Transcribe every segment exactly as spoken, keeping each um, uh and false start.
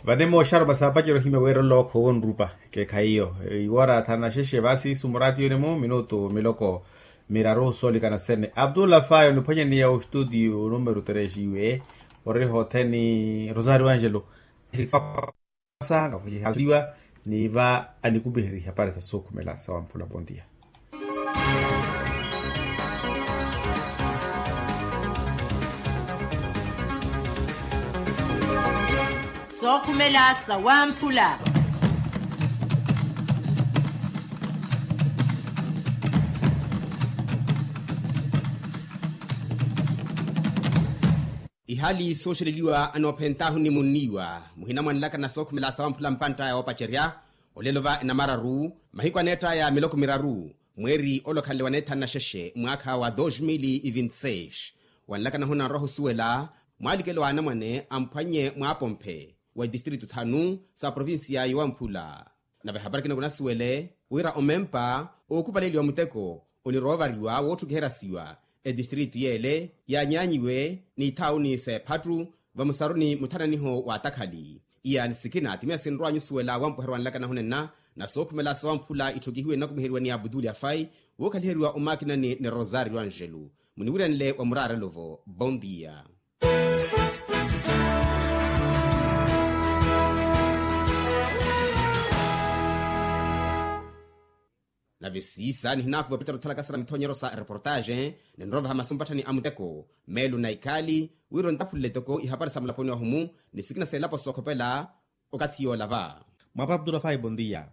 Vane mooxaruma saapacerya ohimya wira olookho wonrupa. Keekhayi iyo iwora thana xexe vaasi sumuraati yone-mo minutu miloko miraru soolikana sene abdullah fayi oniphwanyaniya ostutiyo numeru tresi iwe. Ori hotheni rosario angelo. Sa ngakucihatriwa ni va anikumiherya ihapari sa sookhumela sawamphula pontiya. Sookhumela sawamphula. Ihali sooxeleliwa anoophentahu ni munniiwa muhina mwanlaka na sookhumela sawamphula mpantta ya woopacerya. Olelo va enamararu mahiku aneettaya miloko miraru mweeri ole okhanle waneethanu na xexe mwaakha wa dos mil e vinte seis. Wanlaka nahuna nroha osuwela mwalikelo wa anamwane amphwannye mwaapomphe wa itistritu thanu sa provincia yowamphula. Nave hapari kino kunasuwele wira omempa ookhupaleliwa muteko oniroovariwa wootthukiheryasiwa etistritu yeele yaanyaanyiwe n'ithaawuni s'ephattu vamusaruni muthananiho wa atakhali. Iya ni sikina ti miya sinrwa nyusuwela wampweherwa nlaka nahunenna na sookhumela sawamphula itthukihiwe nnakumiheriwa ni abutuli afai wookhaliheriwa omakinani ni rosario angelu. Muniwirenle wa muraarelo-vo bondia. Nave siisa nihinaakuva opitali othalakasana mithonyero sa ereportaxe ninrovaha masu mpatthani a muteko meelo na ikhaali wira ontaphulele toko ihapari sa mulaponi wahumu ni sikina seelapo sookhopela. Okathi yoola va mwaapara abdurafai bondia.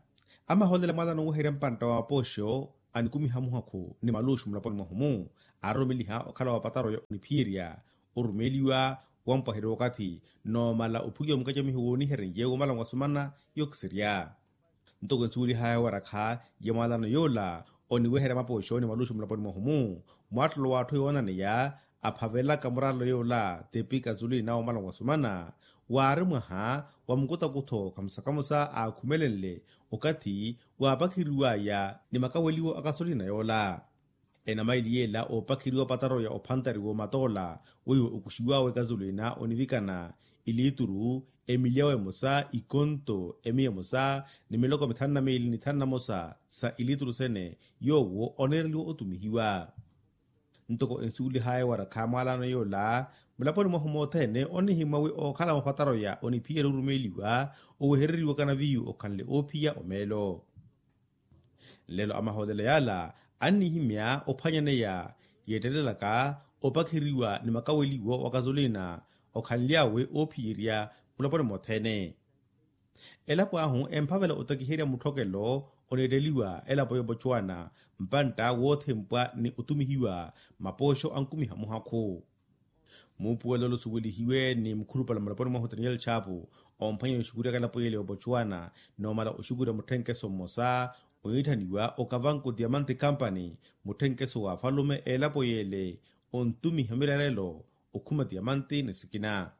Amahoolela mwaalana oweherya mpantta wa mapooxo anikumiha muhakhu ni maluxu mulaponi mwahumu aaroromeliha okhala wa pataroya oniphiyerya orumeeliwa wampwaheriwa okathi noomala ophukiwa mukacamiho wooniherenye womala mwasumana. Yookisirya ntoko ensuwelihaya warakha ya mwaalano yoola oniweherya mapooxo ni maluxu mulaponi mwahumu mwaattolo w'atthu yoonaneya aphavelaka muraarelo yoola tepi kazulina womala mwasumana waari mwaha wa mukutakutho kamusa-kamusa aakhumelenle okathi waapakheriwaya ni makaweliwo a kazulina yoola. Enamaili yeela oopakheriwa opataroya ophantariwa omatoola weiwo okuxiwaawe kazulina onivikana iliituru emilyawo emosa ikonto emiya emosa ni miloko mithanu na miili ni thanu na mosa sa iliituru sene yoowo oneereliwa otumihiwa. Ntoko ensuwelihaya warakha mwaalano yoola mulaponi mwahu mothene onihimwa wi ookhala mupataroya oniphiyerya orumeeliwa owehereriwa kanaviyu okhanle oophiya omeelo. Nlelo amahoolela yaala annihimya ophwanyaneya yeettelelaka opakheriwa ni makaweliwo wa kazolina okhanly'awe oophiyerya mulaponi mothene. Elapo ahu emphavela otakiherya mutthokelo oneetteliwa elapo y'opocuwana mpantta woothempwa ni otumihiwa mapooxo ankumiha muhakhu. Muupuwelo ole osuwelihiwe ni mukhulupale mulaponi mwahu daniel chapu omphwanya oxukuryaka elapo yeele y'opocuwana noomala oxukurya mutthenkeso mmosa ohiitthaniwa okavanku diamante company mutthenkeso w'afalume elapo yeele ontumiha miraarelo okhuma diamante ni sikina.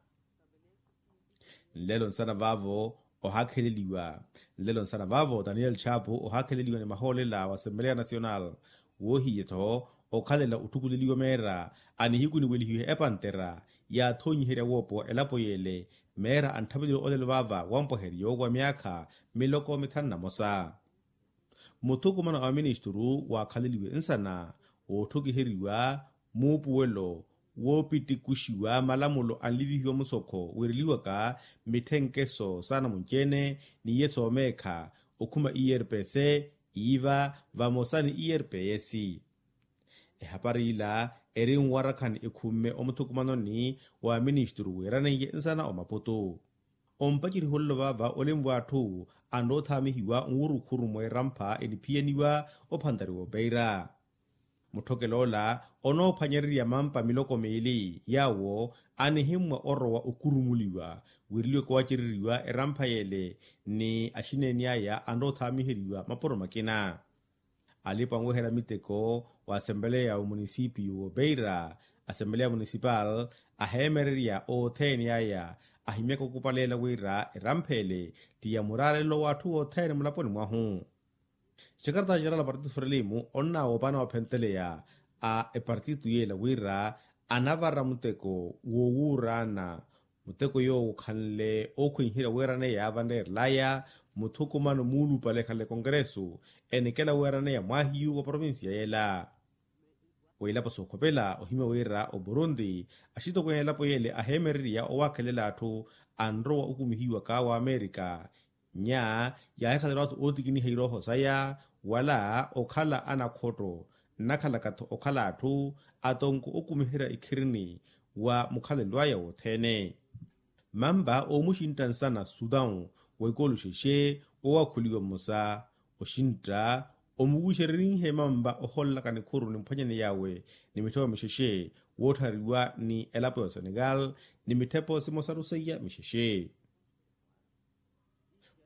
Nlelo nsana vaavo ohaakheleliwa nlelo nsana vaavo daniel chapu ohaakheleliwa ni mahoolela wa assembleya nacional woohiye-tho okhalela otthukuleliwa meera a nihiku niwelihiwe epantera yaathonyiherya woopowa elapo yeele meera antthaveleliwa olelo vaava wampwaheriyo wa myaakha miloko mithanu na mosa. Muthukumano a ministuru waakhaleliwe nsana wootthukuheriwa muupuwelo woopittikuxiwa malamulo anlivihiwa musokho wiireliwaka mitthenkeso saana munci-ene n'iye soomeekha okhuma irps iiva vamosa ni irps. Ehapari ila eri nwarakhani ekhumme omuthukumanoni wa ministuru wiiraneiye nsana omaputu. Ompaceriho nlo vaava olenvwa atthu anroothaamihiwa nwurukhuru mweerampha eniphiyaniwa ophantariwa opeira. Mutthokelo ola onoophwanyererya mampa miloko miili yaawo anihimmwa orowa okurumuliwa wiireliweke waacereriwa erampha yeele ni axineeni aya anroothaamiheriwa mapuro makina. Alipa anweherya miteko wa assembleya wa munisipio w'opeira assembleya munisipal aheemererya othene aya ahimyaka okupaleela wira erampha ele ti ya muraarelo w'atthu othene mulaponi mwahu. Xekarata xerala partitu frelimo onnaawoopana waphenteleya a epartitu yeela wira anavara muteko wowuuraana Muteko yoowo okhanle ookhwenherya weeraneya yaavaneerelaya muthukumano muulupale ekhale konkeresu enikela weeraneya mwaahiyu wa provincia yela. Wa ilapo sookhopela ohimya wira oburundi axitokweene elapo yele aheemererya owaakhelela atthu anrowa okumihiwa kaawa amerika. Nya yaahikhaleriwa atthu ootikiniha irooho saya wala okhala anakhotto nnakhalaka-tho okhala atthu atonko okumiherya ikhirini wa mukhalelo aya wothene. Mampa oomuxintta nsana sutan wa ikooluxexe oowakhuliwa mmosa oxintta omuwixererihe mampa ohololaka nikhuru nimphwanyani yawe ni mitthepo mixexe wootthariwa ni elapo ya osenegal ni mitthepo simosaru seiya mixexe.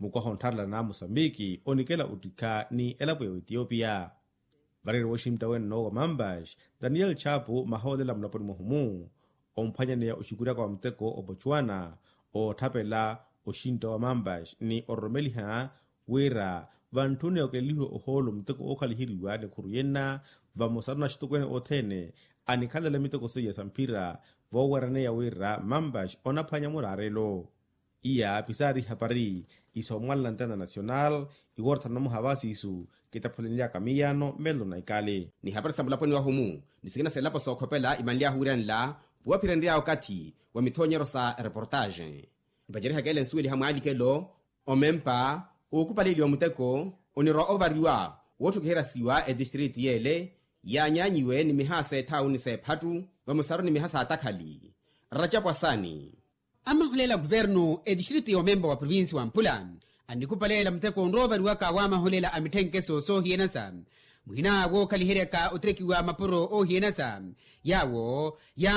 Mukwaha onttharela n'amosambiki onikela ottikha ni elapo ya oetiopia. Vareere wooxintta wenno wa mampas daniel chapu mahoolela mulaponi mwahumu omphwanyaneya oxikuryaka wa muteko obotswana ootthapela oxintta wa mampas ni ororomeliha wira vantthuni okelelihiwa ohoolo muteko ookhaliheriwa nikhuru yenna vamosaru na axitokweene othene anikhalela miteko seiya sa mphira vooweeraneya wira mampas onaphwanya muraarelo. Iya pisaari ihapari isoomwanela ntena nasional iwoortha namuha va siisu kitaphulenlyaka miyaano mmelo na ikali. Ni hapari sa mulaponi wahumu ni sikina sa elapo sookhopela imanly'ahu wiiranela puwaphirenry'awe okathi wa mithoonyeryo sa reportaje. Mpacerihaka ele nsuweliha mwaalikelo omempa ookupaleliwa muteko onirwa ovariwa wootthukiheriwa siwa etistritu yele yaanyaanyiwe ni miha s'ethauni s'ephattu vamosaru ni miha s'atakhali. Ratchapwasani. Amahuleela kuvernu etistritu y'omempa wa provinsi wa mpula annikupaleela muteko onroovariwaka w'amahuleela a mitthenkeso soohiyanasa muhina wookhaliheryaka ottekiwa mapuro oohiyanasa yaawo ya